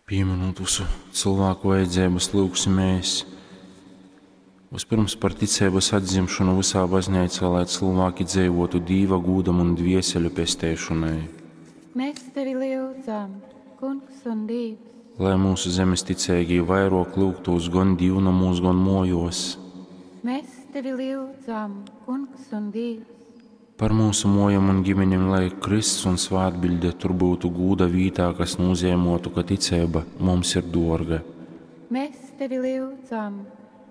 Pieminot visu cilvēku vajadzības, lūgsimies vispirms par ticības atdzimšanu visā baznīcā, lai cilvēki dzīvotu Dīva gūdam un dvieseļu pesteišanai. Mēs tevi lyudzam, Kungs un Dievs. Lai mūsu zemes ticīgie vairāk lūgtos gan dīvnamos, gan mojos. Mēs tevi lyudzam, Kungs un Dievs. Par mūsu mojam un ģimenēm, lai Kristus un svētbilde tur būtu gūda vītā, kas nozīmotu, ka ticība mums ir dārga. Mēs tevi lyudzam,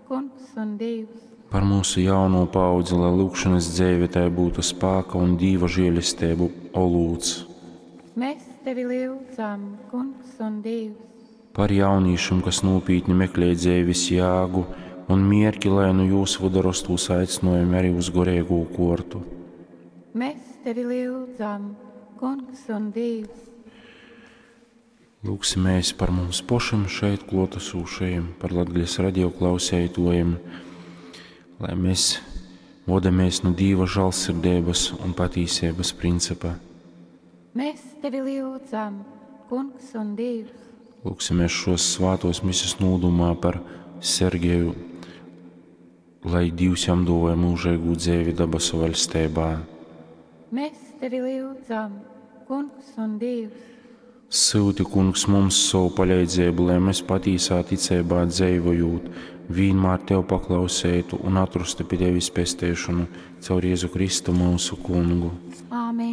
Kungs un Dievs. Par mūsu jauno paudzi, lai lūgšanas dzīve tai būtu spēka un Dīva žēlastību olūts. Mēs tevi lyudzam, Kungs un Dievs. Par jauniešiem, kas nopietni meklē dzīves jēgu un mierki, lai nu jūsu vidu rastūs aicinājumi arī uz gorēgo kortu. Mēs tevi lyudzam, Kungs un Dievs. Lūgsimies par mums pašiem šeit klātesošajiem, par Latgales radio klausētojiem, lai mēs vodamies no Dieva žēlsirdības un patīsības principa. Mēs tevi lyudzam, Kungs un Dievs. Lūgsimies šos svātos mises nūdumā par Sergeju, lai Dievs jam dāvāja mūžīgu dzīvi dabasu valstībā. Mēs tevi lyudzam, Kungs un Dievs. Sūti, Kungs, mums savu palīdzību, lai mēs patīsā ticībā dzīvojot, vienmēr Tev paklausētu un atrastu pie Tevis pesteišanu caur Jēzu Kristu mūsu Kungu. Āmen.